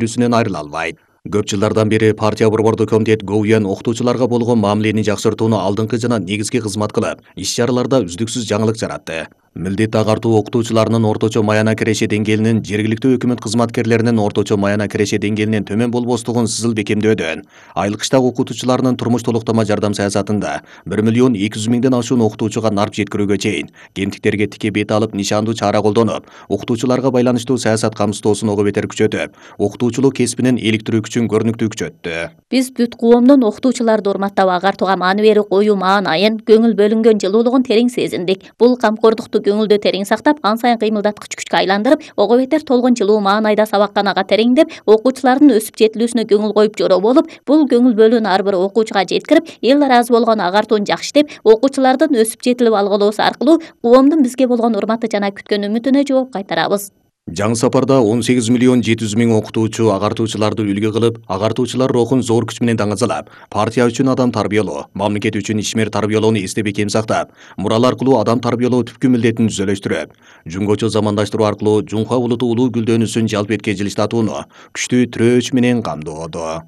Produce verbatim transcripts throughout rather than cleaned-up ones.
үлгүсүнөн айрыла албайт. Көп жылдардан бери партия борбордук комитет ГОУЯн окутуучуларга болгон мамилени жакшыртууну алдыңкы жана негизги кызмат кылып, иш-чараларда үздүксүз жаңылык жаратты. Милдет агартуу окутуучуларынын орточо маяна киреше деңгээлинин жергиликтүү өкмөт кызматкерлеринин орточо маяна киреше деңгээлинен төмөн болбостугун сызыл бекемдөөдөн, айлык иштак окутуучуларынын турмуш толуктама жардам саясатында бир миллион эки жүз миңден ашуун окутуучуга нарп жеткирүүгө чейин кемтиктерге тике бет алып нишандуу чара колдонуп, окутуучуларга байланыштуу саясат камсыздоосун ого бетер күчөтүп, окутуучулук кесибинин иликтирүү күчүн көрүнүктүү күчөттү. Биз бүт коомдун окутуучуларды урматтап агартууга маани берип коюу маанайын, көңүл бөлүнгөн жылуулугун терең сезиндик. Бул камкордукту көңүлдө терең сактап, ан сайын кыймылдаткыч күчкө айландырып, ого бетер толгон жылуу маанайда сабакканага тереңдеп, окуучулардын өсүп жетилүүсүнө көңүл коюп жороо болуп, бул көңүл бөлүүнү ар бир окуучуга жеткирип, эл ыраазы болгон агартууну жакшы деп, окуучулардын өсүп жетилип алгылоосу аркылуу коомдун бизге болгон урматы жана күткөн үмүтүнө жооп кайтарабыз. Жаңы сапарда он сегиз миллион жети жүз миң окутуучу агартуучуларды үлгү кылып, агартуучулар рухун зор күч менен даңазалап, партия үчүн адам тарбиялоо, мамлекет үчүн ишмер тарбиялоону эсте бекем сактап, мурал аркылуу адам тарбиялоо түпкү милдетин түзөлөштүрүп, жумгочо замандаштыруу аркылуу Жумка улуту улуу гүлдөнүүсүн жалп эткей жылыштатууну күчтүү тирөөч менен камдоодо.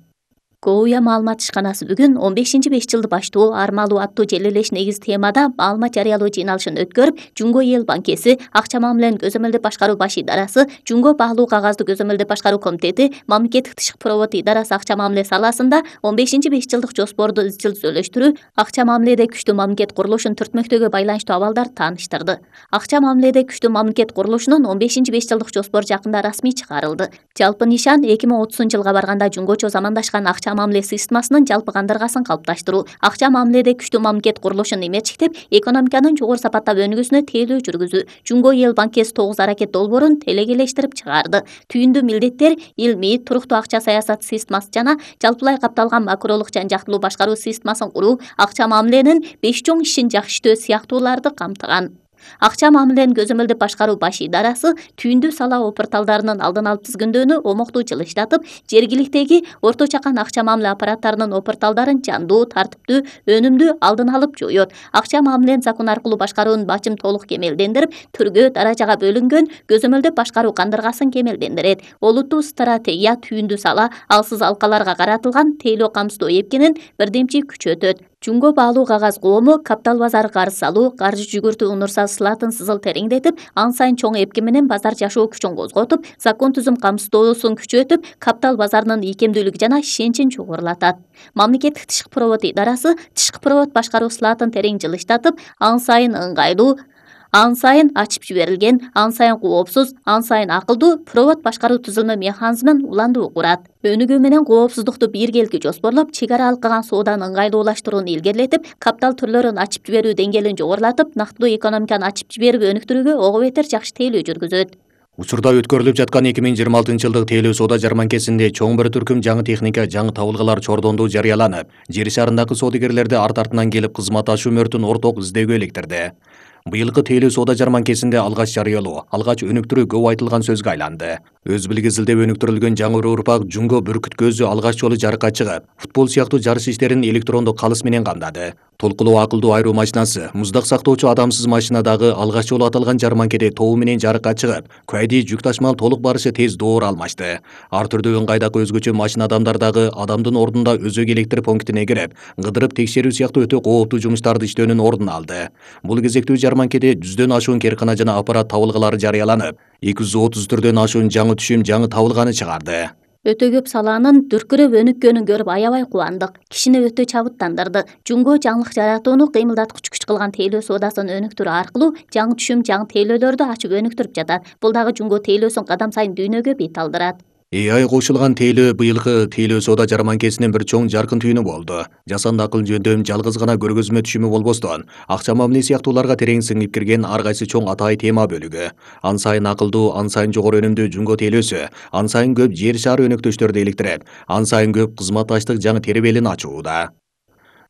ГОУЯ маалымат ишканасы бүгүн он бешинчи беш жылды баштоо армалуу аттуу желилеш негиз темада маалымат жарыялоо жыйналышын өткөрүп, Жумго эл банкеси, акча мамилени көзөмөлдөп башкаруу баш идарасы, Жумго баалуу кагазды көзөмөлдөп башкаруу комитети, мамлекеттик тышкы провод идарасы акча мамиле саласында он бешинчи беш жылдык жоспорду изчил түзөлөштүрүү, акча мамиледе күчтүү мамлекет курулушун түртмөктөөгө байланыштуу абалдар тааныштырды. Акча мамиледе күчтүү мамлекет курулушунун он бешинчи беш жылдык жоспору жакында расмий чыгарылды. Жалпы нишан эки миң отузунчу жылга барганда жумгочо замандашкан акча мамиле системасынын жалпы кандыргасын калыпташтыруу, акча мамиледе күчтүү мамлекет курулушун эмерчиктеп, экономиканын жогору сапаттап өнүгүүсүнө тейлөө жүргүзүү, Жумго эл банкеси тогуз аракет долбоорун телегелештирип чыгарды. Түйүндүү милдеттер илмий, туруктуу акча саясаты системасы жана жалпылай капталган макролук жан жактылуу башкаруу системасын куруу, акча мамиленин беш чоң ишин жакшы иштөө сыяктууларды камтыган. Акча мамилени көзөмөлдөп башкаруу баш идарасы түйүндүү сала опорталдарынын алдын алып тизгиндөөнү омоктуу жылыштатып, жергиликтеги орто чакан акча мамиле аппараттарынын опорталдарын жандуу, тартиптүү, өнүмдүү алдын алып жоёт. Акча мамилени закон аркылуу башкаруунун бачым толук кемелдендирип, түргө, даражага бөлүнгөн көзөмөлдөп башкаруу кандыргасын кемелдендирет. Олуттуу стратегия түйүндүү сала, алсыз алкаларга каратылган тейлөө камсыздоо эпкинин бирдемчи күчөтөт. Жумго баалуу кагаз коому капитал базары карыз салуу, каржы жүгүртүү унурса сылатын сызыл тереңдетип, ан сайын чоң эпки менен базар жашоо күчүн козготуп, закон түзүм камсыздоосун күчөтүп, капитал базарынын ийкемдүүлүгү жана ишенчин чогурулатат. Мамлекеттик тышкы провод идарасы тышкы провод башкаруу сылатын терең жылыштатып, ан сайын ыңгайлуу, ан сайын ачып жиберилген, ан сайын коопсуз, ан сайын акылдуу провод башкаруу түзүлмө механизмин уландуу курат. Өнүгүү менен коопсуздукту биргелки жоспорлоп, чек ара алкаган сооданы ыңгайлуулаштырууну илгерилетип, капитал түрлөрүн ачып жиберүү деңгээлин жогорулатып, нактылуу экономиканы ачып жиберип өнүктүрүүгө ого бетер жакшы тейлөө жүргүзөт. Учурда өткөрүлүп жаткан эки миң жыйырма алтынчы жылдык тейлөө соода жарманкесинде чоң бир түркүм жаңы техника, жаңы табылгалар чордондуу жарыяланып, жер шарындагы соодагерлерди арт артынан келип кызмат ашуу мөртүн орток издөөгө иликтирди. Быйылкы тейлөө соода жарманкесинде алгач жарыялоо, алгач өнүктүрүү көп айтылган сөзгө айланды. Өз билгизилдеп өнүктүрүлгөн жаңы урпак Жумго бүркүт көзү алгач жолу жарыкка чыгып, футбол сыяктуу жарыш иштерин электрондук калыс менен камдады. Толкулуу акылдуу айруу машинасы, муздак сактоочу адамсыз машина дагы алгач жолу аталган жарманкеде тобу менен жарыкка чыгып, куайди жүк ташмал толук барышы тез доор алмашты. Ар түрдүү ыңгайдагы өзгөчө машина адамдар дагы адамдын ордунда өзөк электр пунктине кирип, кыдырып текшерүү сыяктуу өтө кооптуу жумуштарды иштөөнүн ордун алды. Бул кезектүү жарманкеде жүздөн ашуун керкана жана аппарат табылгалары жарыяланып, эки жүз отуз түрдөн ашуун жаңы түшүм, жаңы табылганы чыгарды. Өтө көп саланын дүркүрөп өнүккөнүн көрүп аябай кубандык. Кишини өтө чабыттандырды. Жумго жаңылык жаратууну кыймылдаткыч күч кылган тейлөө соодасын өнүктүрүү аркылуу жаңы түшүм, жаңы тейлөөлөрдү ачып өнүктүрүп жатат. Бул дагы Жумго тейлөөсүн кадам сайын дүйнөгө бет алдырат. Э ай кошулган тейлөө быйылкы тейлөө соода жарманкесинин бир чоң жаркын түйүнү болду. Жасанды акыл жөндөм жалгыз гана көргөзмө түшүмү болбостон, акча мамиле сыяктууларга терең сиңип кирген ар кайсы чоң атайы тема бөлүгү. Ан сайын акылдуу, ан сайын жогору өнүмдүү Жумго тейлөөсү, ан сайын көп жер шары өнөктөштөрдү иликтирип, ан сайын көп кызматташтык жаңы тербелин ачууда.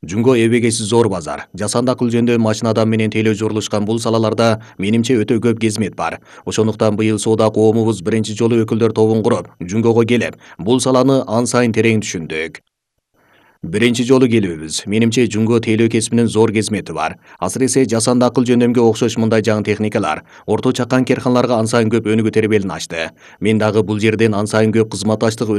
Жумго эбегеси зор базар, жасанды акыл жөндөм машина адам менен тейлөө журулушкан бул салаларда менимче өтө көп кезмет бар. Ошондуктан быйыл соода коомубуз биринчи жолу өкүлдөр тобун куруп, Жумгого келип, бул саланы ан сайын терең түшүндүк. Биринчи жолу келүүбүз. Менимче Жумго тейлөө кесибинин зор кезмети бар. Асыресе жасанды акыл жөндөмгө окшош мындай жаңы техникалар орто чакан керканаларга ан сайын көп өнүгүү тербелин ачты. Мен дагы бул жерден ан сайын көп кызматташтык